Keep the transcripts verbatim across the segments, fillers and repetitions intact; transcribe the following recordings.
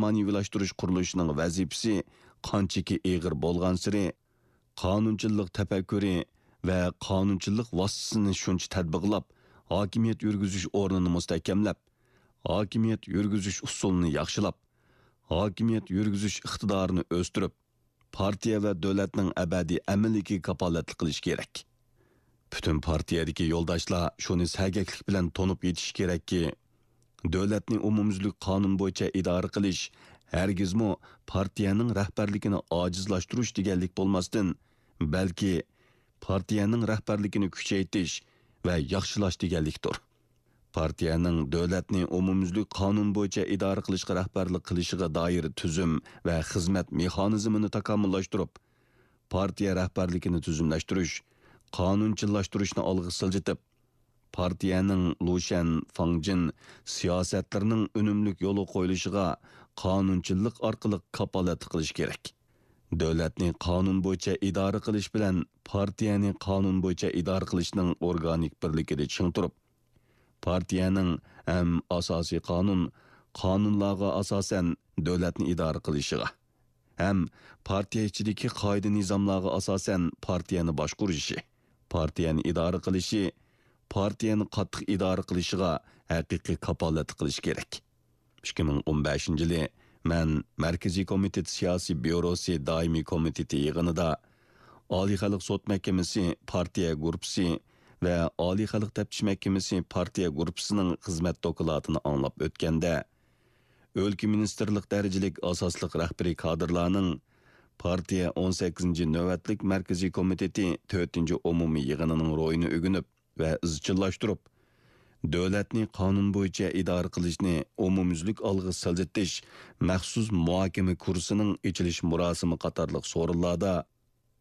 مەنىۋىلاشتۇرۇش قۇرۇلۇشىنىڭ ۋەزىپىسى قانچىكى ئېغىر بولغانسېرى، قانۇنچىللىق تەپەككۇرى ۋە قانۇنچىللىق ۋاسىتىسىنى شۇنچە تەتبىقلاپ، ھاكىمىيەت يۈرگۈزۈش ئورنىنى مۇستەھكەملەپ، ھاكىمىيەت يۈرگۈزۈش ئۇسۇلىنى ياخشىلاپ، ھاكىمىيەت يۈرگۈزۈش ئىقتىدارىنى ئۆستۈرۈپ، پارتىيە ۋە دۆلەتنىڭ ئەبەدىي ئەمىنلىكىگە كاپالەتلىك قىلىشى كېرەك. پۈتۈن پارتىيەدىكى يولداشلار شۇنى سەگەكلىك بىلەن تونۇپ يېتىشى كېرەككى، دۆلەتنى ئومۇميۈزلۈك قانۇن بويىچە ئىدارە قىلىش ھەرگىزمۇ پارتىيەنىڭ رەھبەرلىكىنى ئاجىزلاشتۇرۇش دېگەنلىك بولماستىن، بەلكى پارتىيەنىڭ رەھبەرلىكىنى كۈچەيتىش ۋە ياخشىلاش دېگەنلىكتۇر. پارتىيەنىڭ دۆلەتنى ئومۇميۈزلۈك قانۇن بويىچە ئىدارە قىلىشقا رەھبەرلىك قىلىشىغا دائىر تۈزۈم ۋە خىزمەت مېخانىزمىنى تاكامۇللاشتۇرۇپ، پارتىيە رەھبەرلىكىنى تۈزۈملەشتۈرۈش، قانۇنچىللاشتۇرۇشنى ئالغا سىلجىتىپ، پارتىيەنىڭ لۇشيەن، فاڭجېن سىياسەتلىرىنىڭ ئۈنۈملۈك يولغا قويۇلۇشىغا قانۇنچىللىق ئارقىلىق كاپالەتلىك قىلىش كېرەك. دۆلەتنى قانۇن بويىچە ئىدارە قىلىش بىلەن پارتىيەنى قانۇن بويىچە ئىدارە قىلىشنىڭ ئورگانىك بىرلىكىدە چىڭ تۇرۇپ، پارتىيەنىڭ ھەم ئاساسىي قانۇن، قانۇنلارغا ئاساسەن دۆلەتنى ئىدارە قىلىشىغا، ھەم پارتىيە ئىچىدىكى قائىدە-نىزاملارغا ئاساسەن پارتىيەنى باشقۇرۇشى، پارتىيەنى ئىدارە قىلىشى، پارتىيەنى قاتتىق ئىدارە قىلىشىغا ھەقىقىي كاپالەتلىك قىلىشى كېرەك. ئىككى مىڭ ئون بەشىنچى يىلى مەن مەركىزىي كومىتېت سىياسىي بيۇروسى دائىمىي كومىتېتى يىغىنىدا ئالىي خەلق سوت مەھكىمىسى پارتىيە گۇرۇپپىسى ۋە ئالىي خەلق تەپتىش مەھكىمىسى پارتىيە گۇرۇپپىسىنىڭ خىزمەت دوكلاتىنى ئاڭلاپ ئۆتكەندە، ئۆلكە مىنىستىرلىق دەرىجىلىك ئاساسلىق رەھبىرىي كادىرلارنىڭ پارتىيە ئون سەككىزىنچى نۆۋەتلىك مەركىزىي كومىتېتى تۆتىنچى ئومۇمىي يىغىنىنىڭ روھىنى ئۆگىنىپ ۋە ئىزچىللاشتۇرۇپ، دۆلەتنى قانۇن بويىچە ئىدارە قىلىشنى ئومۇميۈزلۈك ئالغا سىلجىتىش مەخسۇس مۇھاكىمە كۇرسىنىڭ ئېچىلىش مۇراسىمى قاتارلىق سورۇنلاردا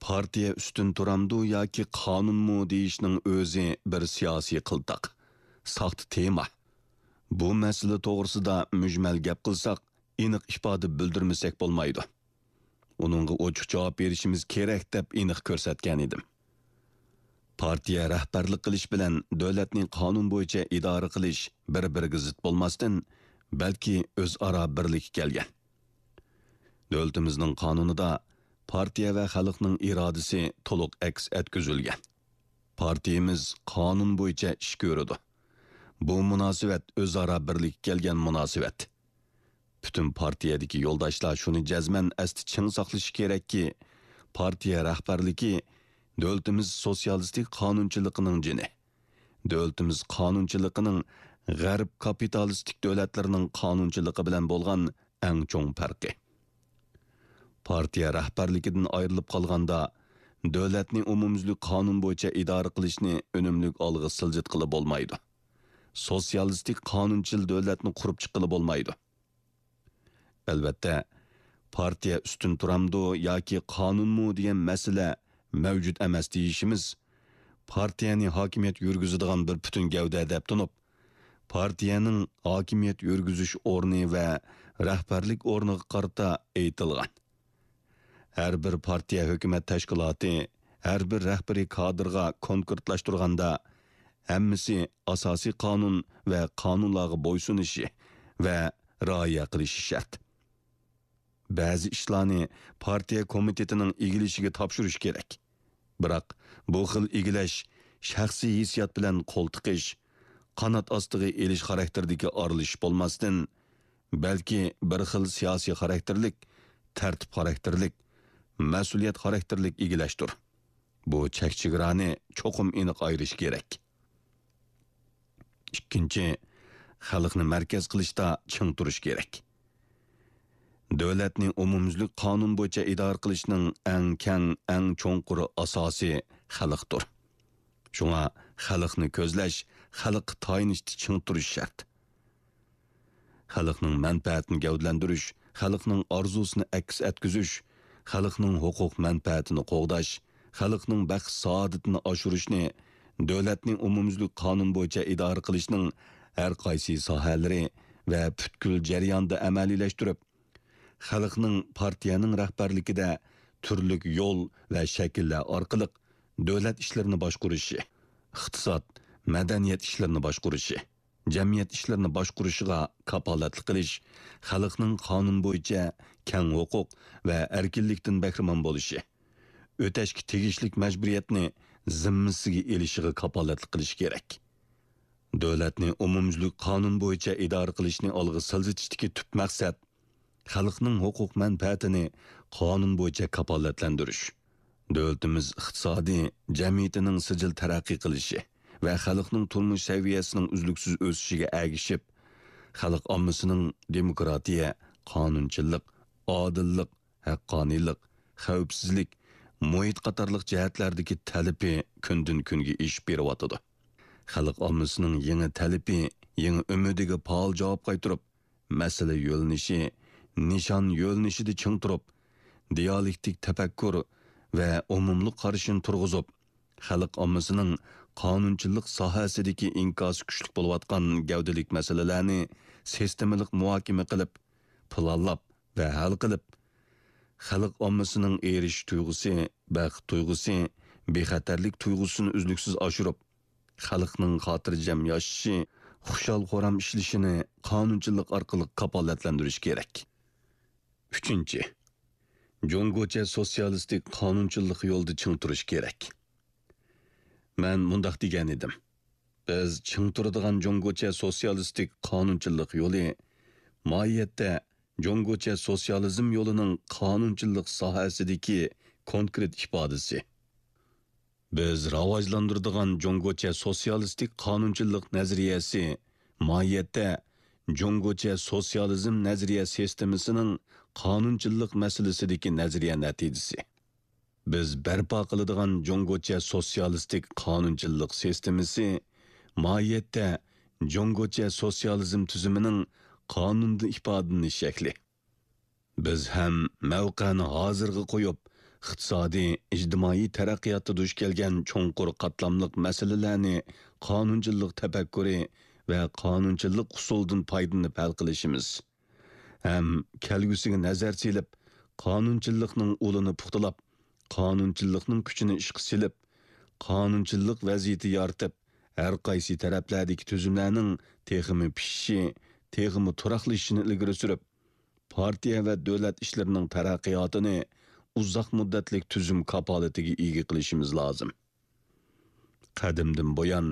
پارتىيە ئۈستۈن تۇرامدۇ ياكى قانۇنمۇ دېيىشنىڭ ئۆزى بىر سىياسىي قىلتاق، ساختا تېما. بۇ مەسىلە توغرىسىدا مۈجمەل گەپ قىلساق، ئېنىق ئىپادە بىلدۈرمىسەك بولمايدۇ. ئۇنىڭغا ئوچۇق جاۋاب بېرىشىمىز كېرەك دەپ ئېنىق كۆرسەتكەن ئىدىم. پارتىيە رەھبەرلىك قىلىش بىلەن دۆلەتنى قانۇن بويىچە ئىدارە قىلىش بىر-بىرىگە زىت بولماستىن، بەلكى ئۆزئارا بىرلىككە كەلگەن. دۆلىتىمىزنىڭ قانۇنىدا پارتىيە ۋە خەلقنىڭ ئىرادىسى تولۇق ئەكس ئەتكۈزۈلگەن. پارتىيىمىز قانۇن بويىچە ئىش كۆرىدۇ. بۇ مۇناسىۋەت ئۆزئارا بىرلىككە كەلگەن مۇناسىۋەت. پۈتۈن پارتىيەدىكى يولداشلار شۇنى جەزمەن ئەستە چىڭ ساقلىشى كېرەككى، پارتىيە رەھبەرلىكى دۆلىتىمىز سوتسىيالىستىك قانۇنچىلىقىنىڭ جېنى. دۆلىتىمىز قانۇنچىلىقىنىڭ غەرب كاپىتالىستىك دۆلەتلىرىنىڭ قانۇنچىلىقى بىلەن بولغان ئەڭ چوڭ پەرقى. پارتىيە رەھبەرلىكىدىن ئايرىلىپ قالغاندا، دۆلەتنى ئومۇميۈزلۈك قانۇن بويىچە ئىدارە قىلىشنى ئۈنۈملۈك ئالغا سىلجىتقىلى بولمايدۇ. سوتسىيالىستىك قانۇنچىل دۆلەتنى قۇرۇپ چىققىلى بولمايدۇ. ئەلۋەتتە، پارتىيە ئۈستۈن تۇرامدۇ ياكى قانۇنمۇ دېگەن مەسىلە مەۋجۇت ئەمەس دېيىشىمىز، پارتىيەنى ھاكىمىيەت يۈرگۈزىدىغان بىر پۈتۈن گەۋدە دەپ تونۇپ، پارتىيەنىڭ ھاكىمىيەت يۈرگۈزۈش ئورنى ۋە رەھبەرلىك ئورنىغا قارىتا ئېيتىلغان. ھەر بىر پارتىيە ھۆكۈمەت تەشكىلاتى ھەر بىر رەھبىرىي كادىرغا كونكرېتلاشتۇرغاندا، ھەممىسى ئاساسىي قانۇن ۋە قانۇنلارغا بويسۇنۇشى ۋە رىئايە قىلىشى شەرت. بەزى ئىشلارنى پارتىيە كومىتېتىنىڭ ئىگىلىشىگە تاپشۇرۇش كېرەك. بىراق، بۇ خىل ئىگىلەش شەخسىي ھېسسىيات بىلەن قول تىقىش، قانات ئاستىغا ئېلىش خاراكتېرىدىكى ئارىلىشىش بولماستىن، بەلكى بىر خىل سىياسىي خاراكتېرلىك، تەرتىپ خاراكتېرلىك، مەسئۇلىيەت خاراكتېرلىك ئىگىلەشتۇر. بۇ چەك-چېگرانى چوقۇم ئېنىق ئايرىش كېرەك. ئىككىنچى، خەلقنى مەركەز قىلىشتا چىڭ تۇرۇش كېرەك. دۆلەتنى ئومۇميۈزلۈك قانۇن بويىچە ئىدارە قىلىشنىڭ ئەڭ كەڭ، ئەڭ چوڭقۇر ئاساسى خەلقتۇر. شۇڭا خەلقنى كۆزلەش، خەلققە تايىنىشتا چىڭ تۇرۇش شەرت. خەلقنىڭ مەنپەئەتىنى گەۋدىلەندۈرۈش، خەلقنىڭ ئارزۇسىنى ئەكس ئەتكۈزۈش، خەلقنىڭ ھوقۇق مەنپەئەتىنى قوغداش، خەلقنىڭ بەخت-سائادىتىنى ئاشۇرۇشنى دۆلەتنى ئومۇميۈزلۈك قانۇن بويىچە ئىدارە قىلىشنىڭ ھەر قايسى ساھەلىرى ۋە پۈتكۈل جەريانىدا ئەمەلىيلەشتۈرۈپ، خەلقنىڭ پارتىيەنىڭ رەھبەرلىكىدە تۈرلۈك يول ۋە شەكىللەر ئارقىلىق دۆلەت ئىشلىرىنى باشقۇرۇشى، ئىقتىساد، مەدەنىيەت ئىشلىرىنى باشقۇرۇشى، جەمئىيەت ئىشلىرىنى باشقۇرۇشىغا كاپالەتلىك قىلىش، خەلقنىڭ قانۇن بويىچە كەڭ ھوقۇق ۋە ئەركىنلىكتىن بەھرىمەن بولۇشى، ئۆتەشكە تېگىشلىك مەجبۇرىيەتنى زىممىسىگە ئېلىشىغا كاپالەتلىك قىلىش كېرەك. دۆلەتنى ئومۇميۈزلۈك قانۇن بويىچە ئىدارە قىلىشنى ئالغا سىلجىتىشتىكى تۈپ مەقسەت، خەلقنىڭ ھوقۇق مەنپەئەتىنى قانۇن بويىچە كاپالەتلەندۈرۈش. دۆلىتىمىز ئىقتىسادىي جەمئىيىتىنىڭ سىجىل تەرەققىي قىلىشى ۋە خەلقنىڭ تۇرمۇش سەۋىيەسىنىڭ ئۈزلۈكسىز ئۆسۈشىگە ئەگىشىپ، خەلق ئاممىسىنىڭ دېموكراتىيە، قانۇنچىللىق، ئادىللىق، ھەققانىيلىق، خەۋپسىزلىك، مۇھىت قاتارلىق جەھەتلەردىكى تەلىپى كۈندىن-كۈنگە ئېشىپ بېرىۋاتىدۇ. خەلق ئاممىسىنىڭ يېڭى تەلىپى، يېڭى ئۈمىدىگە پائال جاۋاب قايتۇرۇپ، مەسىلە يۆنىلىشى، نىشان يۆنىلىشىدە چىڭ تۇرۇپ، دىيالېكتىك تەپەككۇر ۋە ئومۇملۇق قارىشىنى تۇرغۇزۇپ، خەلق ئاممىسىنىڭ قانۇنچىلىق ساھەسىدىكى ئىنكاسى كۈچلۈك بولۇۋاتقان گەۋدىلىك مەسىلىلەرنى سىستېمىلىق مۇھاكىمە قىلىپ، پىلانلاپ ۋە ھەل قىلىپ، خەلق ئاممىسىنىڭ ئېرىشىش تۇيغۇسى، بەخت تۇيغۇسى، بىخەتەرلىك تۇيغۇسىنى ئۈزلۈكسىز ئاشۇرۇپ، خەلقنىڭ خاتىرجەم ياشىشى، خۇشال-خۇرام ئىشلىشىنى قانۇنچىلىق ئارقىلىق كاپالەتلەندۈرۈش كېرەك. ئۈچىنچى، جۇڭگوچە سوتسىيالىستىك قانۇنچىللىق يولىدا چىڭ تۇرۇش كېرەك. مەن مۇنداق دېگەن ئىدىم، بىز چىڭ تۇرىدىغان جۇڭگوچە سوتسىيالىستىك قانۇنچىللىق يولى ماھىيەتتە جۇڭگوچە سوتسىيالىزم يولىنىڭ قانۇنچىللىق ساھەسىدىكى كونكرېت ئىپادىسى. بىز راۋاجلاندۇرىدىغان جۇڭگوچە سوتسىيالىستىك قانۇنچىللىق نەزەرىيەسى ماھىيەتتە جۇڭگوچە سوتسىيالىزم نەزەرىيە سىستېمىسىنىڭ قانۇنچىللىق مەسىلىسىدىكى نەزەرىيە نەتىجىسى. بىز بەرپا قىلىدىغان جۇڭگوچە سوتسىيالىستىك قانۇنچىللىق سىستېمىسى ماھىيەتتە جۇڭگوچە سوتسىيالىزم تۈزۈمىنىڭ قانۇندا ئىپادىلىنىش شەكلى. بىز ھەم مەۋقەنى ھازىرغا قويۇپ، ئىقتىسادىي، ئىجتىمائىي تەرەققىياتتا دۇچ كەلگەن چوڭقۇر قاتلاملىق مەسىلىلەرنى قانۇنچىللىق تەپەككۇرى ۋە قانۇنچىللىق ئۇسۇلىدىن پايدىلىنىپ ھەل قىلىشىمىز ھەم كەلگۈسىگە نەزەر سېلىپ، قانۇنچىللىقنىڭ ئۇلىنى پۇختىلاپ، قانۇنچىللىقنىڭ كۈچىنى ئىشقا سېلىپ، قانۇنچىللىق ۋەزىيىتى يارىتىپ، ھەر قايسى تەرەپلەردىكى تۈزۈملەرنىڭ تېخىمۇ پىشىشى، تېخىمۇ تۇراقلىشىشىنى ئىلگىرى سۈرۈپ، پارتىيە ۋە دۆلەت ئىشلىرىنىڭ تەرەققىياتىنى ئۇزاق مۇددەتلىك تۈزۈم كاپالىتىگە ئىگە قىلىشىمىز لازىم. قەدىمدىن بۇيان،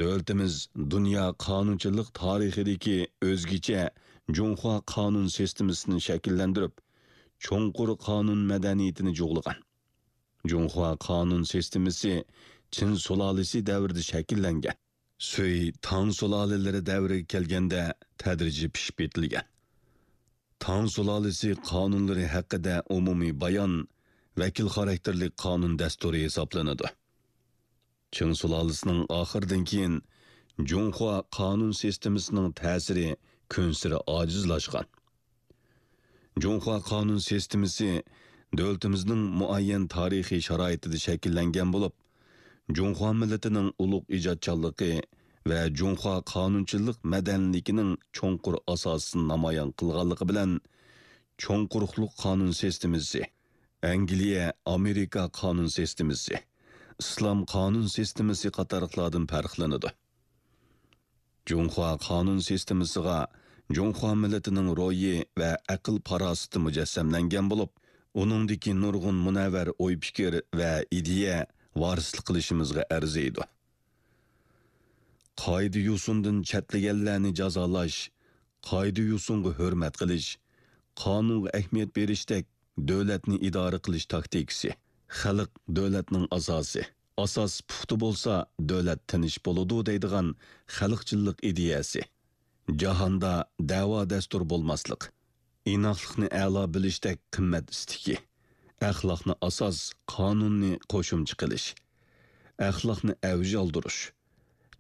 دۆلىتىمىز دۇنيا قانۇنچىلىق تارىخىدىكى ئۆزگىچە جۇڭخۇا قانۇن سىستېمىسىنى شەكىللەندۈرۈپ، چوڭقۇر قانۇن مەدەنىيىتىنى جۇغلىغان. جۇڭخۇا قانۇن سىستېمىسى چىن سۇلالىسى دەۋرىدە شەكىللەنگەن. سۈي، تاڭ سۇلالىلىرى دەۋرىگە كەلگەندە تەدرىجىي پىشىپ يېتىلگەن. تاڭ سۇلالىسى قانۇنلىرى ھەققىدە ئومۇمىي بايان ۋەكىل خاراكتېرلىك قانۇن دەستۇرى ھېسابلىنىدۇ. چىڭ سۇلالىسىنىڭ ئاخىرىدىن كېيىن جۇڭخۇا قانۇن سىستېمىسىنىڭ تەسىرى كۈنسېرى ئاجىزلاشقان. جۇڭخۇا قانۇن سىستېمىسى دۆلىتىمىزنىڭ مۇئەييەن تارىخىي شارائىتىدا شەكىللەنگەن بولۇپ، جۇڭخۇا مىللىتىنىڭ ئۇلۇغ ئىجادچانلىقى ۋە جۇڭخۇا قانۇنچىلىق مەدەنىيلىكىنىڭ چوڭقۇر ئاساسىنى نامايان قىلغانلىقى بىلەن، چوڭ قۇرۇقلۇق قانۇن سىستېمىسى، ئەنگلىيە، ئامېرىكا قانۇن سىستېمىسى، ئىسلام قانۇن سىستېمىسى قاتارلىقلاردىن پەرقلىنىدۇ. جۇڭخۇا قانۇن سىستېمىسىغا جۇڭخۇا مىللىتىنىڭ روھى ۋە ئەقىل-پاراسىتى مۇجەسسەملەنگەن بولۇپ، ئۇنىڭدىكى نۇرغۇن مۇنەۋۋەر ئوي-پىكىر ۋە ئىدىيە ۋارىسلىق قىلىشىمىزغا ئەرزىيدۇ. قائىدە-يوسۇندىن چەتلىگەنلەرنى جازالاش، قائىدە-يوسۇنغا ھۆرمەت قىلىش، قانۇنغا ئەھمىيەت بېرىشتەك دۆلەتنى ئىدارە قىلىش تاكتىكىسى. خەلق دۆلەتنىڭ ئاساسى. ئاساس پۇختا بولسا، دۆلەت تىنچ بولىدۇ دەيدىغان خەلقچىللىق ئىدىيەسى. جاھاندا دەۋا-دەستۇر بولماسلىق، ئىناقلىقنى ئەلا بىلىشتەك قىممەت ئىستىكى، ئەخلاقنى ئاساس، قانۇننى قوشۇمچە قىلىش، ئەخلاقنى ئەۋج ئالدۇرۇش،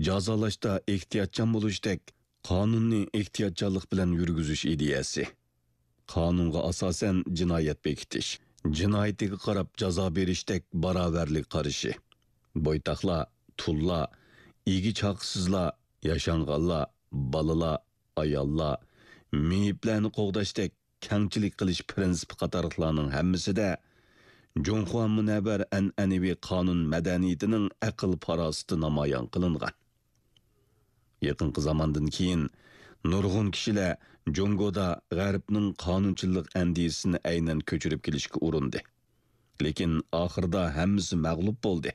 جازالاشتا ئېھتىياتچان بولۇشتەك قانۇننى ئېھتىياتچانلىق بىلەن يۈرگۈزۈش ئىدىيەسى. قانۇنغا ئاساسەن جىنايەت بېكىتىش، جىنايىتىگە قاراپ جازا بېرىشتەك باراۋەرلىك قارىشى. بويتاقلار، تۇللار، ئىگە-چاقىسىزلار، ياشانغانلار، بالىلار، ئاياللار، مېيىپلەرنى قوغداشتەك كەڭچىلىك قىلىش پىرىنسىپى قاتارلىقلارنىڭ ھەممىسىدە جۇڭخۇا مۇنەۋۋەر ئەنئەنىۋى قانۇن مەدەنىيىتىنىڭ ئەقىل-پاراسىتى نامايان قىلىنغان. يېقىنقى زاماندىن كېيىن نۇرغۇن كىشىلەر جۇڭگودا غەربنىڭ قانۇنچىللىق ئەندىزىسىنى ئەينەن كۆچۈرۈپ كېلىشكە ئۇرۇندى. لېكىن ئاخىرىدا ھەممىسى مەغلۇپ بولدى.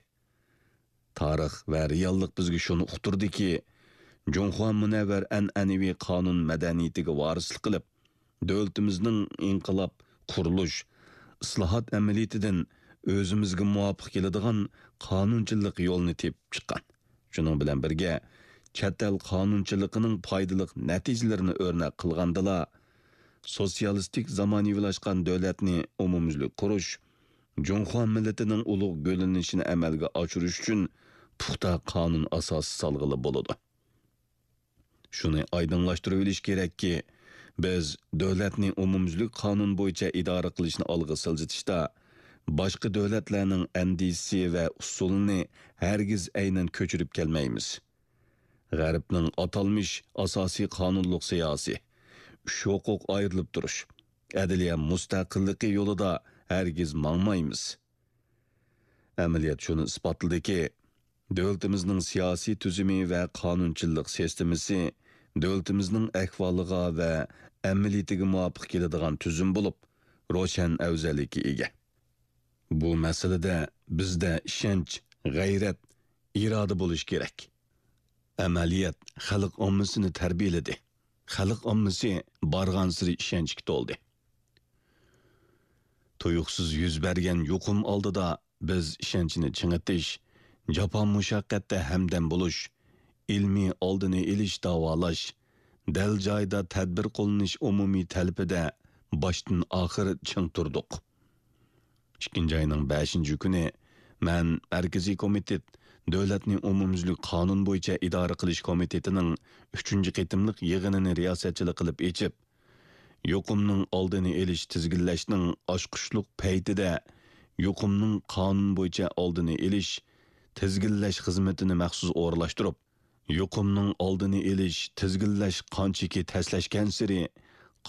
تارىخ ۋە رېئاللىق بىزگە شۇنى ئۇقتۇردىكى، جۇڭخۇا مۇنەۋۋەر ئەنئەنىۋى قانۇن مەدەنىيىتىگە ۋارىسلىق قىلىپ، دۆلىتىمىزنىڭ ئىنقىلاب، قۇرۇلۇش، ئىسلاھات ئەمەلىيىتىدىن ئۆزىمىزگە مۇۋاپىق كېلىدىغان قانۇنچىللىق يولىنى تېپىپ چىققان. شۇنىڭ بىلەن بىرگە، چەت ئەل قانۇنچىلىقىنىڭ پايدىلىق نەتىجىلىرىنى ئۆرنەك قىلغاندىلا، سوتسىيالىستىك زامانىۋىلاشقان دۆلەتنى ئومۇميۈزلۈك قۇرۇش، جۇڭخۇا مىللىتىنىڭ ئۇلۇغ گۈللىنىشىنى ئەمەلگە ئاشۇرۇش ئۈچۈن پۇختا قانۇن ئاساسى سالغىلى بولىدۇ. شۇنى ئايدىڭلاشتۇرۇۋېلىش كېرەككى، بىز دۆلەتنى ئومۇميۈزلۈك قانۇن بويىچە ئىدارە قىلىشنى ئالغا سىلجىتىشتا باشقا دۆلەتلەرنىڭ ئەندىزىسى ۋە ئۇسۇلىنى ھەرگىز ئەينەن كۆچۈرۈپ كەلمەيمىز. غەربنىڭ ئاتالمىش ئاساسىي قانۇنلۇق سىياسىي، ئۈچ ھوقۇق ئايرىلىپ تۇرۇش، ئەدلىيە مۇستەقىللىقى يولىدا ھەرگىز ماڭمايمىز. ئەمەلىيەت شۇنى ئىسپاتلىدىكى، دۆلىتىمىزنىڭ سىياسىي تۈزۈمى ۋە قانۇنچىلىق سىستېمىسى دۆلىتىمىزنىڭ ئەھۋالىغا ۋە ئەمەلىيىتىگە مۇۋاپىق كېلىدىغان تۈزۈم بولۇپ، روشەن ئەۋزەللىككە ئىگە. بۇ مەسىلىدە بىزدە ئىشەنچ، غەيرەت، ئىرادە بولۇشى كېرەك. ئەمەلىيەت خەلق ئاممىسىنى تەربىيەلىدى. خەلق ئاممىسى بارغانسېرى ئىشەنچكە تولدى. تۇيۇقسىز يۈز بەرگەن يۇقۇم ئالدىدا بىز ئىشەنچنى چىڭىتىش، جاپا مۇشەققەتتە ھەمدەم بولۇش، ئىلمىي ئالدىنى ئېلىش، داۋالاش، دەل جايىدا تەدبىر قوللىنىش ئومۇمىي تەلىپىدە باشتىن ئاخىر چىڭ تۇردۇق. ئىككىنچى ئاينىڭ بەشىنچى كۈنى مەن مەركىزىي كومىتېت، دۆلەتنى ئومۇميۈزلۈك قانۇن بويىچە ئىدارە قىلىش كومىتېتىنىڭ ئۈچىنچى قېتىملىق يىغىنىنى رىياسەتچىلىك قىلىپ ئېچىپ، يۇقۇمنىڭ ئالدىنى ئېلىش، تىزگىنلەشنىڭ ئاچقۇچلۇق پەيتىدە يۇقۇمنىڭ قانۇن بويىچە ئالدىنى ئېلىش، تىزگىنلەش خىزمىتىنى مەخسۇس ئورۇنلاشتۇرۇپ، يۇقۇمنىڭ ئالدىنى ئېلىش، تىزگىنلەش قانچىكى تەسلەشكەنسېرى،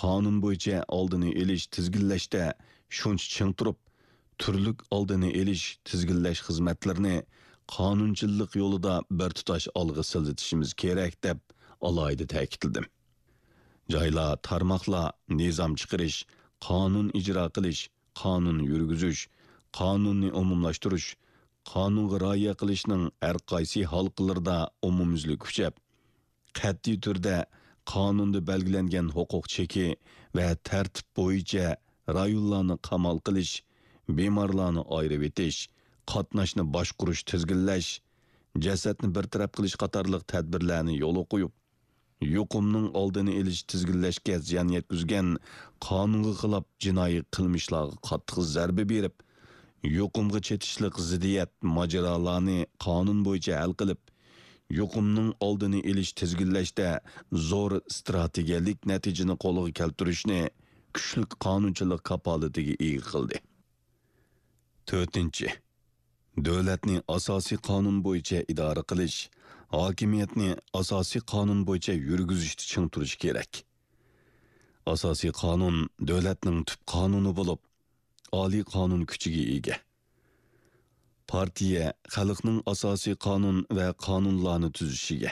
قانۇن بويىچە ئالدىنى ئېلىش، تىزگىنلەشتە شۇنچە چىڭ تۇرۇپ، تۈرلۈك ئالدىنى ئېلىش، تىزگىنلەش خىزمەتلىرىنى قانۇنچىللىق يولىدا بىر تۇتاش ئالغا سىلجىتىشىمىز كېرەك، دەپ ئالاھىدە تەكىتلىدىم. جايلار، تارماقلار نىزام چىقىرىش، قانۇن ئىجرا قىلىش، قانۇن يۈرگۈزۈش، قانۇننى ئومۇملاشتۇرۇش، قانۇنغا رىئايە قىلىشنىڭ ھەر قايسى ھالقىلىرىدا ئومۇميۈزلۈك كۈچەپ، قەتئىي تۈردە قانۇندا بەلگىلەنگەن ھوقۇق چېكى ۋە تەرتىپ بويىچە رايونلارنى قامال قىلىش، بىمارلارنى ئايرىۋېتىش، قاتناشنى باشقۇرۇش، تىزگىنلەش، جەسەتنى بىر تەرەپ قىلىش قاتارلىق تەدبىرلەرنى يولغا قويۇپ، يۇقۇمنىڭ ئالدىنى ئېلىش، تىزگىنلەشكە زىيان يەتكۈزگەن قانۇنغا خىلاپ جىنايى قىلمىشلارغا قاتتىق زەربە بېرىپ، يۇقۇمغا چېتىشلىق زىددىيەت، ماجىرالارنى قانۇن بويىچە ھەل قىلىپ، يۇقۇمنىڭ ئالدىنى ئېلىش، تىزگىنلەشتە زور ئىستراتېگىيەلىك نەتىجىنى قولغا كەلتۈرۈشنى كۈچلۈك قانۇنچىلىق كاپالىتىگە ئىگە قىلدى. تۆتىنچى، دۆلەتنى ئاساسىي قانۇن بويىچە ئىدارە قىلىش، ھاكىمىيەتنى ئاساسىي قانۇن بويىچە يۈرگۈزۈشتە چىڭ تۇرۇش كېرەك. ئاساسىي قانۇن دۆلەتنىڭ تۈپ قانۇنى بولۇپ، ئالىي قانۇن كۈچىگە ئىگە. پارتىيە خەلقنىڭ ئاساسىي قانۇن ۋە قانۇنلارنى تۈزۈشىگە،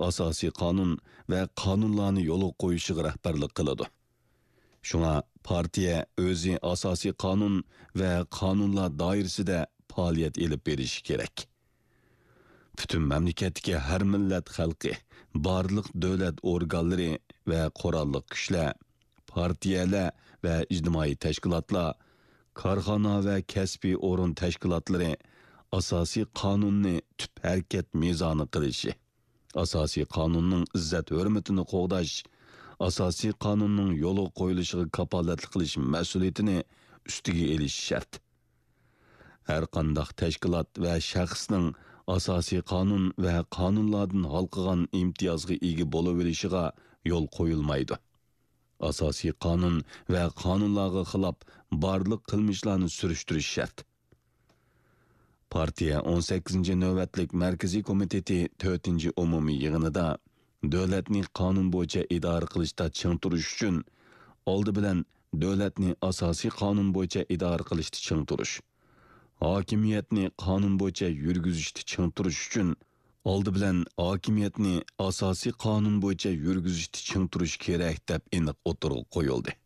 ئاساسىي قانۇن ۋە قانۇنلارنى يولغا قويۇشىغا رەھبەرلىك قىلىدۇ. شۇڭا پارتىيە ئۆزى ئاساسىي قانۇن ۋە قانۇنلار دائىرىسىدە پائالىيەت ئېلىپ بېرىشى كېرەك. پۈتۈن مەملىكەتتىكى ھەر مىللەت خەلقى، بارلىق دۆلەت ئورگانلىرى ۋە قوراللىق كۈچلەر، پارتىيەلەر ۋە ئىجتىمائىي تەشكىلاتلار، كارخانا ۋە كەسپىي ئورۇن تەشكىلاتلىرى ئاساسىي قانۇننى تۈپ ھەرىكەت مىزانى قىلىشى، ئاساسىي قانۇننىڭ ئىززەت-ھۆرمىتىنى قوغداش، ئاساسىي قانۇننىڭ يولغا قويۇلۇشىغا كاپالەتلىك قىلىش مەسئۇلىيىتىنى ئۈستىگە ئېلىشى شەرت. ھەرقانداق تەشكىلات ۋە شەخسنىڭ ئاساسىي قانۇن ۋە قانۇنلاردىن ھالقىغان ئىمتىيازغا ئىگە بولۇۋېلىشىغا يول قويۇلمايدۇ. ئاساسىي قانۇن ۋە قانۇنلارغا خىلاپ بارلىق قىلمىشلارنى سۈرۈشتۈرۈش شەرت. پارتىيە ئون سەككىزىنچى نۆۋەتلىك مەركىزىي كومىتېتى تۆتىنچى ئومۇمىي يىغىنىدا دۆلەتنى قانۇن بويىچە ئىدارە قىلىشتا چىڭ تۇرۇش ئۈچۈن، ئالدى بىلەن دۆلەتنى ئاساسىي قانۇن بويىچە ئىدارە قىلىشتا چىڭ تۇرۇش، ھاكىمىيەتنى قانۇن بويىچە يۈرگۈزۈشتە چىڭ تۇرۇش ئۈچۈن، ئالدى بىلەن ھاكىمىيەتنى ئاساسىي قانۇن بويىچە يۈرگۈزۈشتە چىڭ تۇرۇش كېرەك، دەپ ئېنىق ئوتتۇرىغا قويۇلدى.